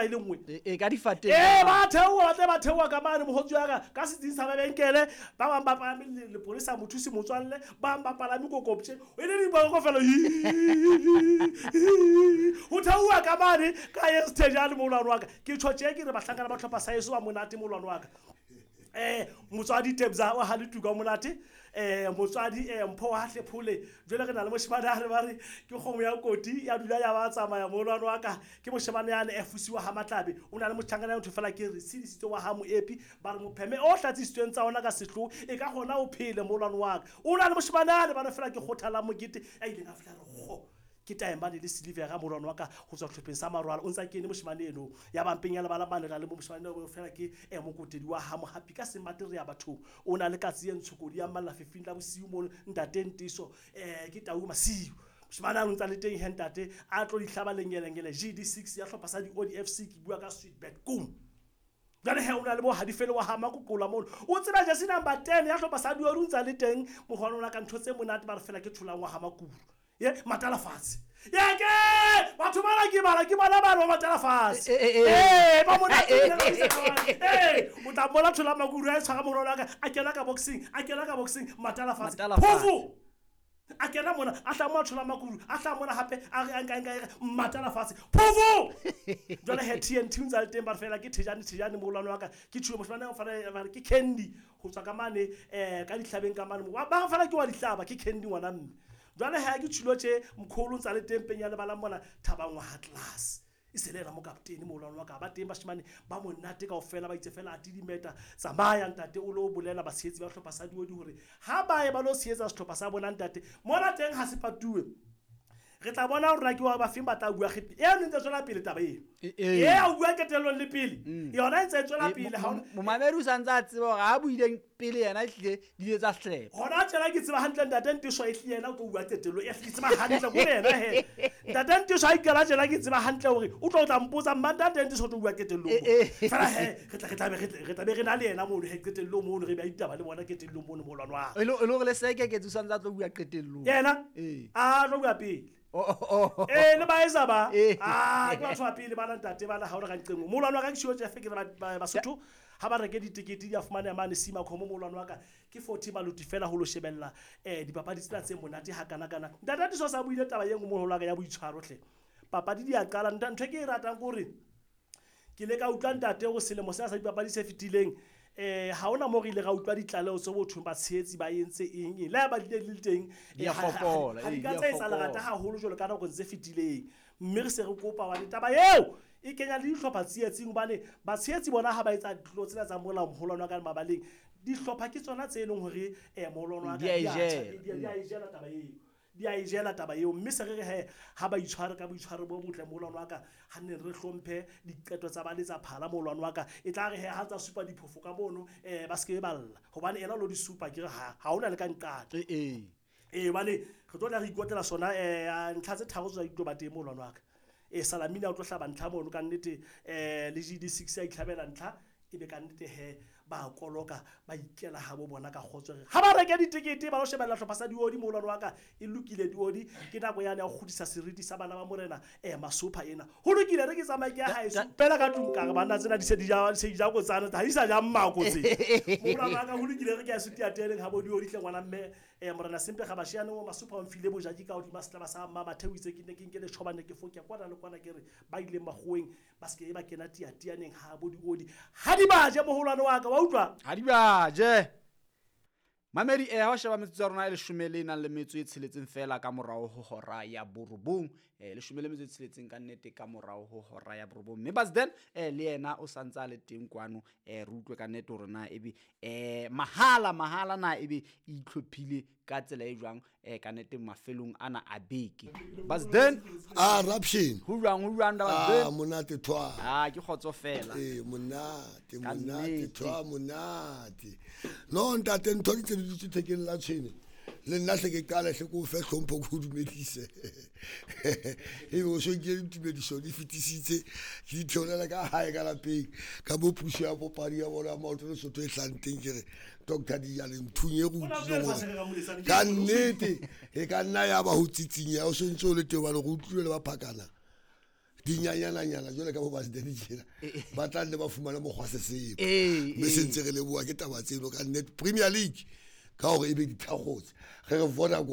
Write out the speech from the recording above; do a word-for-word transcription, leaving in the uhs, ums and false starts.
tsela e le nngwe e ka difateng ee ba theoha ba tle ba theoha ka mane mogotsi wa ka ka setsing sa mabenkele ba bang ba palame lepolesa mothusi motswalle ba bang ba palame kokoptje e le diboko fela ho theoha ka mane ka ye sethejane moholwane wa ka ke tjho tje ke re bahlankana ba tlhopha sa eso ba monate moholwane wa ka eh motswadi Tebza wa ha letuka monate eh motswadi eh Mpho wa Hlephole jwale re na le moshemane a re ba re ke kgomo ya koti ya dula ya ba tsamaya moholwane wa ka ke moshemane yane e fusiwa ha Matlabe o na le motlhankana ntho fela ke re sidisitse wa ha Moepi ba re mopheme o tlatsisitsweng tsa ona ka sehloho e ka gona o phele moholwane wa ka o na le moshemane yane ba re fela ke kgothala mokete a ileng a fihla re kgo ke taemane le silivera moholwane wa ka ho tswa tlhopheng sa Marwala o ntsa kene moshemane eno ya bampeng ya lebala mane ra le mo moshemane o fela ke e mokotedi wa ha Mohapi ka semate re ya bathong o na le katsi e ntshokodi ya malla fifing la bosiu mono ntate Ntiso eh ke tau masiu moshemane a ntsa le teng he ntate a tlo dihlaba lengelengele G D six ya hlopha sa di O D F C ke bua ka Sweetbet kum jwale he o na le bo Hadifele wa ha Makokola mono o tseba jersey number ten ya hlopha sa Diori o ntsa le teng mogwana ka ntho tse monate ba re fela ke tholang wa ha Makuru ye matala fatshe ye ke batho bana ke bala ke bona bana ba matala fatshe eh ba monate eh o tla bona thola Makuru a tshwara morolo ka a kena ka boxing a kena ka boxing matala fatshe phofu a kena mona a tla mo thola Makuru a tla mona hape a re nka nka matala fatshe phofu jwale he T N T ntsa le teng ba fela ke thejane thejane moholwane wa ka ke tshwe moshwana o fana ke Candy ho tswa ka mane eh ka dihlabeng ka mane ba fela ke wa dihlaba ke Candy ngwana mme jwale ha ke tshilo tje mkholo ntsa le tempeng ya lebala mona Thabang wa Atlas e se le ena mo kaptene moholwane wa ka ba teng bashemane ba monate kaofela ba itse fela a tidimeta tsamaya ntate o lo bolela batshehetsi ba hlopha sa Diodi hore ha ba ye ba lo tshehetsa sehlopha sa bona ntate mona teng ha se patuwe re tla bona hore ke wa ba feng ba tla bua kgepi e ntse tswela pele taba eo e a bua ketellong le pele yona e ntse tswela pele ha momamedi o santse a tseba hore ha buileng pele yena ehlile di ile tsa hlepa hona tjela ke tseba hantle ntate Ntiso e hlile yena o tlo bua qetello e hlile tseba hantle go yena he ntate Ntiso ha ikela tjela ke tseba hantle hore o tlo tla mpotsa mma ntate Ntiso o tlo bua qetellong fela he re tla re tla be re tla be re na le yena mono he qetellong mono re ba ditaba le bona qetellong mono moholwane wa e le hore le seke ke tso santse a tlo bua qetellong yena a tlo bua pele eh le ba esa ba ah ke batho ba pele ba ntate ba la ha o re ka nqeng moholwane wa ka ke tshio tjefe ke re ba Basotho ha ba reke ditekete di a fumana mane Sima Khomo moholwane wa ka ke forty maluti fela ho lo shebella eh dipapadi tsena tse monate ha kana kana ntate Ntiso sa buile taba ye nngwe moholwane wa ka ya boitshwaro hle papadi di a qala ntho ke e ratang hore ke le ka utlwa ntate o selemo sena sa dipapadi se fetileng eh ha ona mo re ile ra utlwa ditlaleho tse bothong ba tshehetsi ba entse eng eng le ba dile le teng di a fokola ha di ka tsa etsa lerata haholo jwalo ka nako tse fetileng mme re se re kopa wa taba eo e kenya le dihlopha tsietsing hobane batshehetsi bona ha ba etsa ditlo tsena tsa molao moholwane wa ka mabaleng dihlopha ke tsona tse leng hore eh moholwane wa ka di a ejela taba eo di a ejela taba eo mme se re re he ha ba itshware ka boitshwaro bo botle moholwane wa ka ha nne re hlomphe diqeto tsa ba letsa phala moholwane wa ka e tla re he ha tsa supa diphofo ka mono eh ba se ke balla hobane ena lo di supa ke re ha ha ona le ka nqate eh eh hobane re tlo tla re ikotela sona eh ntlha tse tharo tsa ditlo ba teng moholwane wa ka e Salamina o tlo hlaba ntlha mono ka nnete eh le G D six ya itlhabela ntlha e be ka nnete he ba koloka ba ikela ha bo bona ka kgotso re ha ba reke ditekete ba lo shebella hlopha sa Diodi moholwane wa ka e lokile Diodi ke nako yane ya ho kgudisa seriti sa bana ba morena eh Masopha ena ho lokile re ke tsamaye ke ya haeso pela ka tlung ka re bana tsena di se di ja se di ja kotsana ha di sa ja mmako tse moholwane wa ka ho lokile re ke ya sutiateleng ha bo Diodi tle ngwana mme eh morena Sempe ga bashiane o Masopha o mfile bojaki ka hodima setlaba sa mma Matheo itse ke ne ke nke le tshobane ke foke kwana le kwana ke re ba ile magoweng ba se ke ba kena tiatianeng ha bo Diodi ha di ba je moholwane wa ka wa utlwa ha di ba je mamedi eh ha o sheba metsotso ya rona e leshome le nang le metso e tsheletseng fela ka morao ho hora ya borobong eh leshome le metso e tsheletseng ka nnete ka morao ho hora ya borobong mme Basden eh le yena o santse a le teng kwano eh re utlwe ka nnete hore na ebe eh mahala mahala na ebe e itlhophile ka tsela e jwang eh ka nnete mafelong ana a beke Basden ah raption ho jwang ho jwang da Basden ah monate thwa ah ke kgotso fela eh monate monate thwa monate no ntate ntho di tse thekeng la tshwene le nna hle ke qala hle ko fe hlompho ko dumedise e bo so ke ditumediso di fetisitse ke di theolela ka hae ka lapeng ka bo puso ya popadi ya bona maoto le Sotho e hlanteng ke re Doctor Dijane nthunye go utlwile gore ka nnete e ka nna ya ba ho tsitsinya o sontse o le teng ba le go utlwile le ba phakana Dinyanyananyana jwale ka bo basidedi tjena ba tla nne ba fumane mokgwa sesepa. Ee, Mme se ntse re leboha ke taba tseno ka nnete. Premier League ka hore e be dithakgotse, re re Vodacom.